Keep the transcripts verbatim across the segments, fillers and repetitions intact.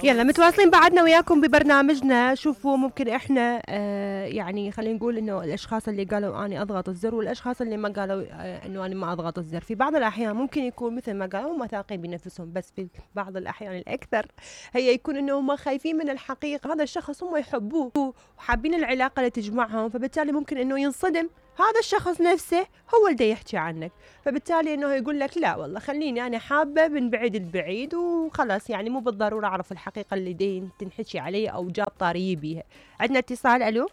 يلا متواصلين بعدنا وياكم ببرنامجنا. شوفوا ممكن احنا آه يعني خلينا نقول انه الاشخاص اللي قالوا اني اضغط الزر والاشخاص اللي ما قالوا آه انه انا ما اضغط الزر، في بعض الاحيان ممكن يكون مثل ما قالوا هم واثقين بنفسهم، بس في بعض الاحيان الاكثر هي يكون انه هم خايفين من الحقيقه. هذا الشخص هم يحبوه وحابين العلاقه اللي تجمعهم، فبالتالي ممكن انه ينصدم هذا الشخص نفسه هو اللي يحكي عنك، فبالتالي انه يقول لك لا والله خليني انا حابه من بعيد البعيد وخلاص، يعني مو بالضروره اعرف الحقيقه اللي دين تنحكي علي او جاب طاري بيها. عندنا اتصال. الو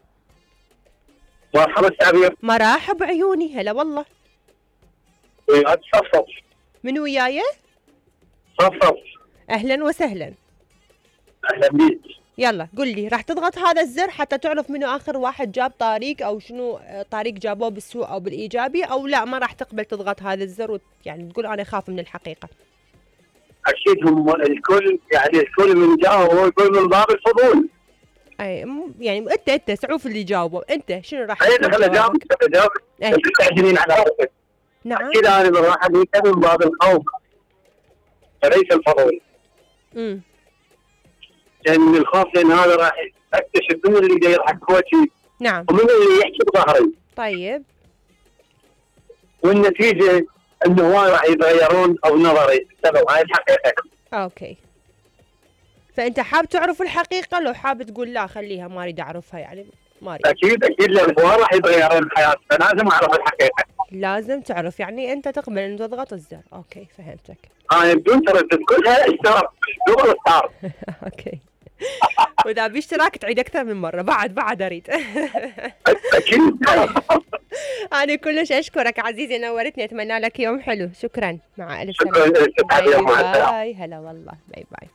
مرحبا تعبير. مرحب عيوني. هلا والله. وياك صفصف. من وياي؟ صفصف. اهلا وسهلا. اهلا بيك. يلا قل لي، راح تضغط هذا الزر حتى تعرف منو اخر واحد جاب طريق او شنو طريق جابوه بالسوء او بالايجابي، او لا ما راح تقبل تضغط هذا الزر وت... يعني تقول انا خاف من الحقيقه؟ اكيد هم الكل يعني الكل من جاوب هو يقول من باب الفضول. اي يعني انت انت سعوف اللي جاوبوا، انت شنو راح تقول؟ اي خليني اجاوبك اجاوبك انت تعجبين على روحك. نعم اكيد انا من واحد من باب الخوف وليس الفضول. امم لان من الخوف لان هذا راح اكتشف من اللي جاي يضحك بوجهي. نعم. ومن اللي يحكي بظهري. طيب. والنتيجه انه هواي راح يتغيرون او نظري بسبب هاي الحقيقه. اوكي. فانت حاب تعرف الحقيقه لو حاب تقول لا خليها ما اريد اعرفها يعني ما اريد؟ اكيد اكيد لان هواي راح يتغيرون بحياتي فلازم اعرف الحقيقه. لازم تعرف يعني انت تقبل ان تضغط الزر. اوكي فهمتك. اه بدون تردد كلها اشتراك دبل ستار. اوكي. واذا باشتراك تعيد اكثر من مره بعد بعد اريد. اكيد. انا كلش اشكرك عزيزي، نورتني، اتمنى لك يوم حلو. شكرا، مع الف سلامه. شكرا. باي باي. هلا والله. باي باي.